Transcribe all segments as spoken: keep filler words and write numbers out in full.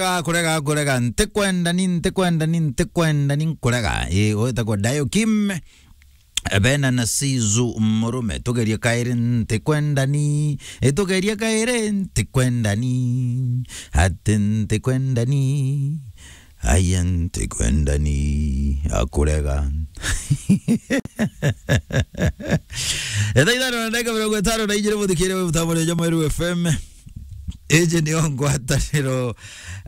Kurega, kurega, kurega, ntikwenda ni, ntikwenda ni, ntikwenda ni, nkurega. Ii, witagwa Dayo Kim, Bena na Sizu Murume, tugerie kairi, ntikwenda ni, ii, tugerie kairi, ntikwenda ni, ati ntikwenda ni, aya ntikwenda ni, akurega. Etha ithano na ndagika mirongo itano na ijiri, muthikire wi mutambo ni Meru F M. Iji nio ngwataniro,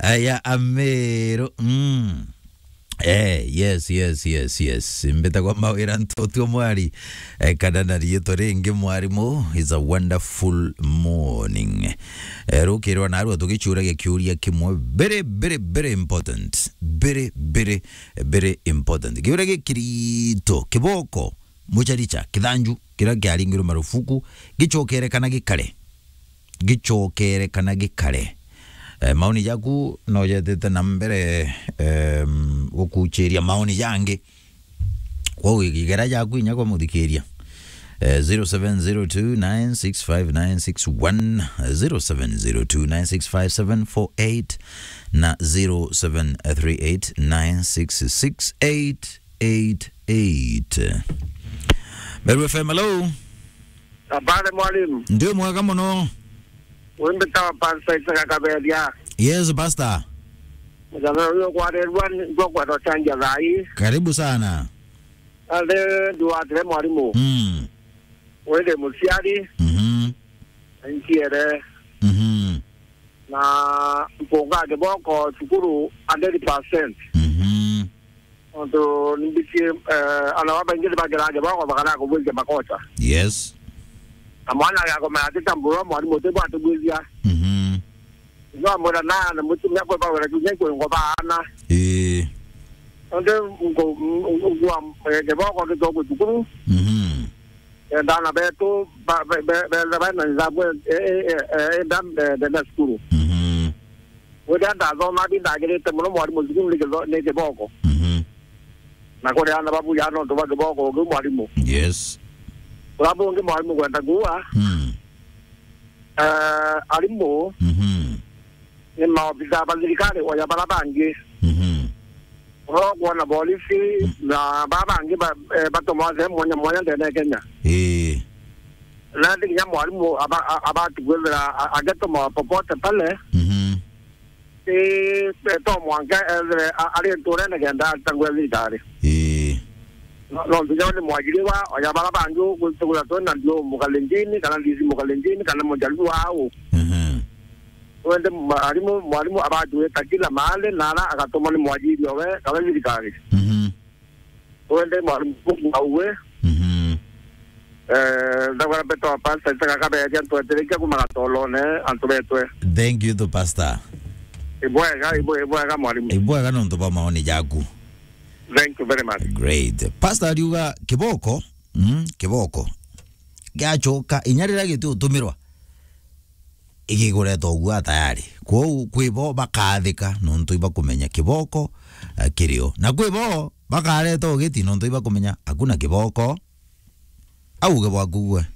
eh, ya Ameru. Mm. Eh, yes, yes, yes, yes. Mbitagwa Mawira Ntotu Mwari, eh, kana na riitwa ringi Mwarimu. It's a wonderful morning. Eh, rukirwa narua tugicuuragia kiuria kimwe very, very, very important. Very, very, very important. Kiuria gikirito, kiboko, mucharicha, kithanju, kiria kiaringirwe marufuku, gicokere kana gikare? Gicokere kana gikare? Eh, maoni jaku no jetete na mbere, em, gukuchiria maoni jangi. Kwou igera jaku inya kwa muthikiria. Eh, zero seven zero two nine six five nine six one, zero seven zero two nine six five seven four eight na zero seven three eight nine six six eight eight eight. Meru F M, hello. Habari, mwalimu. Ndi mwega muno. Wimbi tawa Pastor Isaka Kaberia. Yes, Pastor. Mujana uyu kwarirwa ni, ngwa kwenda changia thai. Karibu sana. Ari nduatire mwalimu. Mm. Wende muciari. Mhm. Nchiere. Mhm. Na mpunga kiboko cukuru hundred percent. Mhm. Nontu nimbitie, eh, ana babaingi ni bagira kiboko bakara kubwithia makosa. Yes. Na mwana agakomera ati tambura mwalimu uti bwatubwithia. Mhm. No amwira na, na mutumia kwe bawira kinya kwe ngo baana. Ii. Nontu ngo, ngo, ngo, eh, kiboko gitogwe cukuru. Mhm. Endana betu, ba, be, be, be, be, bena nidhamu, eh, eh, eh, eh, enda, eh, ndenda cukuru. Mhm. Wira ndathoma, ndi ndagirite muno mwarimu cukuru ni kitho-, ni kiboko. Mhm. Na kuri ana babuya nontu bwa kiboko, ungi mwarimu. Yes. Ura bungi mwarimu kwenda kuua. Mm. Eh, arimu. Mhm. Ni maofisa ba thirikari oya bara bangi. Mhm. Oro kwona polisi na baba bangi ba, eh, batoma sehemu mwanya mwanya ndene ya Kenya. Ii. Na ndi kinya mwarimu aba, a-, abati kwithira a-, agetoma popote pale. Mhm. Ii, eh, to mwanka ethire a-, ari nturene kenda atangwe thirikari. Ii. No, no, nginya ni mwajiriwa, oya bara bangi ugwitugura twena ndio Mukalenjini, kana ndisi Mukalenjini, kana Mujaluo au. Mhm. Wende mwarimu, mwarimu abatuweka kila mahali, na ara agatuma ni mwajiri owe, kana thirikari. Mhm. Wende mwarimu auwe. Mhm. Eh, ndagwara beto wa pastor, itaka kaberia ntweterekia kuma gatolone, antu betwe. Thank you to pastor. Ibwega, ibwe-, ibwega mwarimu. Ibwega nontu bwa maoni jaku. Thank you very much. Great. Pastor ariuga kiboko, mm, kiboko. Giachoka, inya riria giti utumirwa, igigureta ugua tayari. Kwou kwi bo bakathika nontu ibakumenya kiboko, eh, kirio. Na kwi bo bakareta ugiti nontu ibakumenya hakuna kiboko. Auge bwaku gwe.